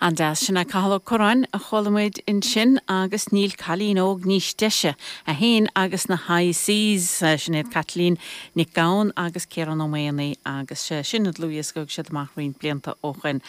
An-deas. Sin é Cathal Ó Curráin a chuala muid ansin agus Níl Cailín Óg Níos Deise, é féin agus na High Seas. Sin iad Caitlín Nic Gabhann agus Ciarán Ó Maonaigh agus sin an dlúthdhiosca a thug siad amach roinnt blianta ó shoin.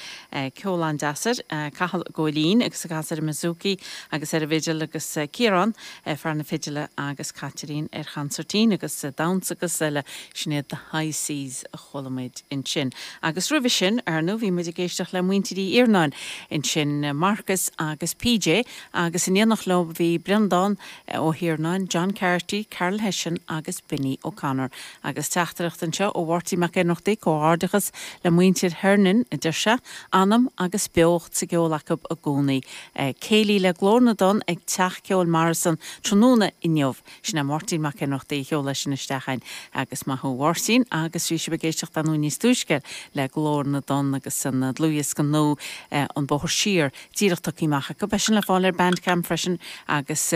Ceol an-deas air. Cathal ag gabháil fhoinn agus ag casadh ar an mbouzouki agus ar an bhfidil agus Ciarán, fear na fidile agus Caitlín ar chansairtín agus damhsa agus eile. Sin iad The High Seas a chuala muid ansin. Agus roimhe sin, ar ndú, bhí muid ag éisteacht le muintir Uí Iarnáin ansin, Marcus agus PJ, agus in éineacht leo bhí Breandán Ó hIarnáin, John Carty, Carol Hession agus Benny O'Connor. Agus teachtaireacht anseo ó Mháirtín Mac Ionnrachtaigh, Comhghairdeachas le muintir Hernon, a deir sé, anam agus beocht sa gceol acu i gcónaí. Céilí le Glór na dTonn ag Teach Ceoil Morrison tráthnóna inniu. Sin é Máirtín Mac Ionnrachtaigh a sheol é sin isteach chugainn agus maith thú a Mháirtín agus bhí sibh ag éisteacht ar ndóigh níos túisce le Glór na dTonn agus an dlúthdhiosca nua An Bóthar Siar díreach tugtha amach acu. Beidh sin le fáil ar Bandcamp freisin agus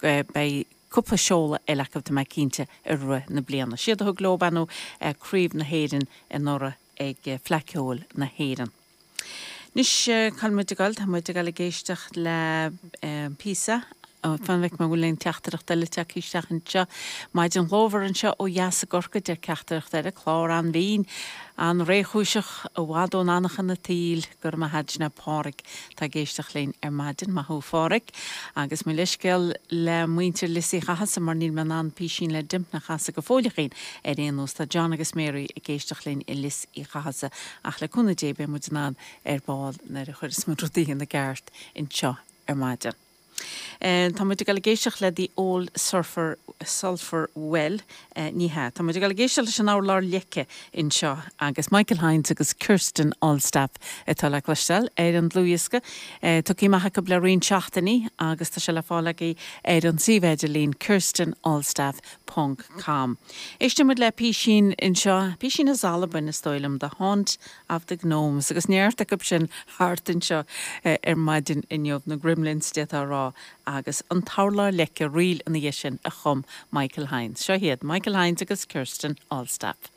beidh cúpla seoladh eile acu tá mé cinnte i rith na bliana. Siad a thug leo ar ndóigh Craobh na hÉireann anuraidh ag Fleadh Ceoil na hÉireann. Anois, cá bhfuil muid ag dul? Tá muid ag dul ag éisteacht le píosa, fan go bhfeicfidh mé an bhfuil aon teachtaireacht eile tagtha isteach anseo. Maidin ghlórmhar anseo ó dheas i gCorcaigh, deir teachtaireacht eile, clár an-bhinn, an-réchúiseach, i bhfad ón anachain an tsaoil. Go raibh maith a't, sin é Páraic atá ag éisteacht linn ar maidin. Maith thú a Pháraic. Agus mo leithscéal le muintir Lios Uí Chathasaigh mar níl mé in ann písín le Dympna a chasadh go fóilleachín ar aon nós. Tá John agus Mary ag éisteacht linn i Lios Uí Chathasaigh ach le cúnamh Dé beidh muid in ann ar ball nuair a chuireas muid rudaí ina gceart anseo ar maidin. Tá muid ag dul ag éisteacht le The Old Surfer, Sulphur Well, ní hea, tá muid ag dul ag éisteacht leis an Urlár Leice anseo agus Michael Hynes agus Kirsten Allstaff atá le cloisteáil ar an dlúthdhiosca tugtha amach acu le roinnt seachtainí agus tá sé le fáil agaibh ar an suíomh idirlín kirstenallstaff ponc com. Éistfidh muid le písín anseo, písín as Albain is dóigh liom, The Haunt of the Gnomes, agus neart acu sin thart anseo ar maidin inniu, na Gremlins d'fhéadfá a rá, agus An tUrlár Leice, ríl ina dhiaidh sin a chum Michael Hynes. Seo iad, Michael Hynes agus Kirsten Allstaff.